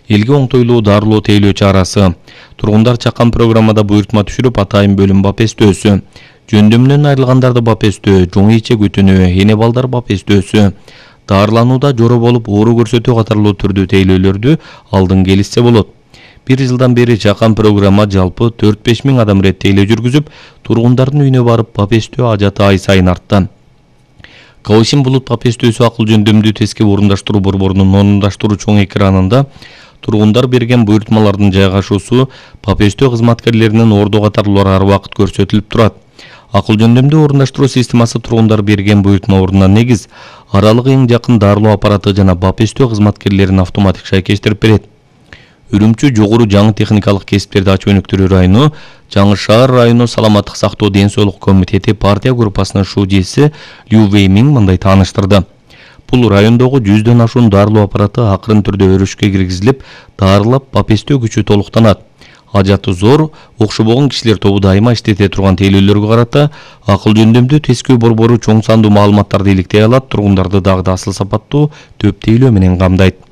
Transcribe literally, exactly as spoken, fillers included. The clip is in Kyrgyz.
Элге оңтойлуу дарылоо тейлөө чарасы. Тургундар чаккан программада буйртма түшүрүп, атайын бөлүм бапестөөсү. Жөндөмүнөн айрылгандарды бапестөө, жоң иче күтүнүү, эне балдар бапестөөсү. Дарыланууда жоро болуп оору көрсөтүү катарлуу түрдүү тейлөөлөрдү алдын келишсе болот. Бир жылдан бери чаккан программа жалпы төрт беш миң адам рет тейлөө жүргүзүп, тургундардын үйүнө барып бапестөө ажаты ай сайын артты. Калышин булут бапестөөсү акыл жөндөмдүү тескеп орундаштыруу борборунун орундаштыруу чоң экранында тургундар берген буйртмалардын жайгашуусу бапестөө кызматкерлеринин ордо катарлуулары ар убакыт көрсөтүлүп турат. Акыл жөндөмдүү орундаштыруу системасы тургундар берген буйртма ордуна негиз, аралыгы эң жакын дарылоо аппараты жана бапестөө кызматкерлерин автоматик шайкештирип берет. Үрүмчү жогору жаңы техникалык кесиптерди ачуу өнүктүрүү району, Жаңы шаар району саламаттык сактоо ден соолук комитети партия группасынын шужеси Лю Вэймиң мындай тааныштырды. Бул райондогу жүздөн ашуун дарылоо аппараты акырын түрдө өрүшкө киргизилип, дарылап бапестөө күчү толуктанат. Ажаты зор, окшобогон кишилер тобу дайыма иштете турган тейлөөлөргө карата акыл жөндөмдүү тескөө борбору чоң сандуу маалыматтарды иликтей алат, тургундарды дагы да асыл сапаттуу төп тейлөө менен камдайт.